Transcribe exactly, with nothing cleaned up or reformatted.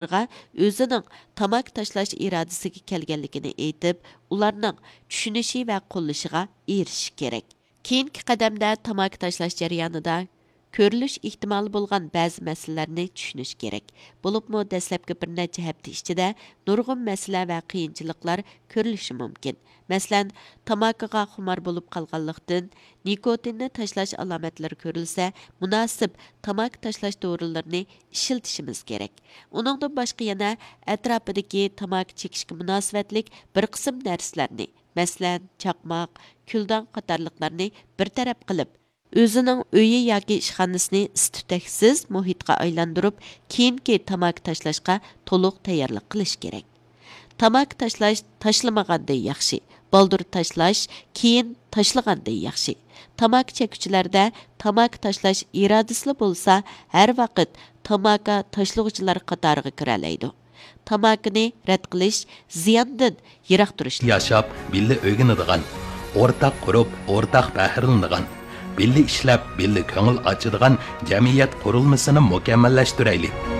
ئۆزىنىڭ تاماكا تاشلاش ئىرادىسىگە كەلگەنلىكىنى ئېيتىپ، ئۇلارنىڭ چۈشىنىشى ۋە قوللىشىغا ئېرىشىش كېرەك. كېيىنكى قەدەمدە تاماكا تاشلاش جەريانىدا كۆرۈلۈش ئېھتىمالى بولغان بەزى مەسىلىلەرنى چۈشىنىش كېرەك. بولۇپمۇ دەسلەپكى بىر نەچچە ھەپتە ئىچىدە نۇرغۇن مەسىلە ۋە قىيىنچىلىقلار كۆرۈلۈشى مۇمكىن. مەسىلەن، تاماكىغا خۇمار بولۇپ قالغانلىقتىن، نىكوتىننى تاشلاش ئالامەتلىرى كۆرۈلسە، مۇناسىپ تاماكا تاشلاش دورىلىرىنى ئىشلىتىشىمىز كېرەك. ئۇنىڭدىن باشقا يەنە ئەتراپىدىكى تاماكا چېكىشكە مۇناسىۋەتلىك بىر قىسىم نەرسىلەرنى، مەسىلەن، چاقماق، كۈلدان قاتارلىقلارنى بىر تەرەپ قىلىپ، ئۆزىنىڭ ئۆيى ياكى ئىشخانىسىنى ئىس-تۈتەكسىز مۇھىتقا ئايلاندۇرۇپ، كېيىنكى تاماكا تاشلاشقا تولۇق تەييارلىق قىلىش كېرەك. تاماكا تاشلاش تاشلىمىغاندىن ياخشى، بالدۇر تاشلاش كېيىن تاشلىغاندىن ياخشى. تاماكا چەككۈچىلەردە تاماكا تاشلاش ئىرادىسىلا بولسا، ھەر ۋاقىت تاماكا تاشلىغۇچىلار قاتارىغا كىرەلەيدۇ. تاماكىنى رەت قىلىش، زىياندىن يىراق تۇرۇش. ياشاپ، بىللە ئۆگىنىدىغان، ئورتاق قۇرۇپ، ئورتاق پەخىرلىنىدىغان، بىللە ئىشلەپ، بىللە كۆڭۈل ئاچىدىغان جەمئىيەت قۇرۇلمىسىنى مۇكەممەللەشتۈرەيلى.